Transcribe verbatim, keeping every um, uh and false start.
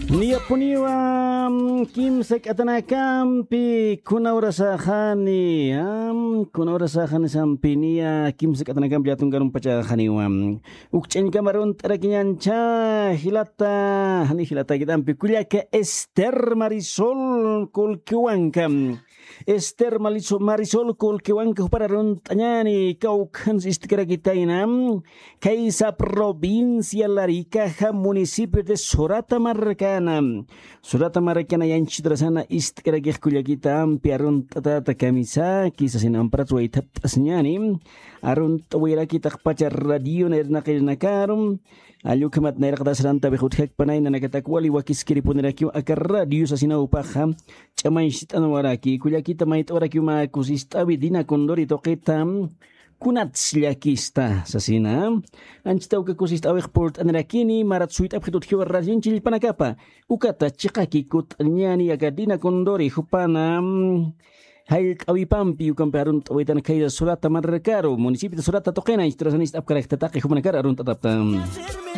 Niyapuniwa kimsa k'atanakampi kuna urasaxani, kuna urasaxani sampi niya kimsa k'atanakampi llatunkarumpachaxaniwa. Ukch'añkama runt'arakiñancha jilata jani jilatakitampi kullaka Ester Marisol Kulkiwanka. Ester Marisol Kulkiwanka jupara runt'añani kawkhansi ist'karakitayna. Kaysa provincia Laricaja municipio de Sorata marcana. Sorata marcana yanchitrasana ist'karakix kullakita ampi arunt'atata kamisaki sasin amparat waythat'asiñani. Arunt'awirakitaqpacha radiona irnaqirnakarum. Allukhamat nayraqtasrantawix utjakpanay nanakatak wali wakiskiripunirakiw aka radio sasinawpaxa. Ch'amañcht'anwaraki kullakita mayt'awarakiw mä kusist'awi dina condori tuqita. Kunats llakista sasina. Anchita uka kusist'awix purt'anirakini marat suyt'apxit utjiwa radionchillpanakapa. Ukata chiqaki kut'añani aka dina condori jupana. Jallt'awipampi ukampi arunt'awitan khaysa Sorata markaru municipio de Sorata tuqina anchiturasanist'apkaraktataqi jupanakar arunt'atapta.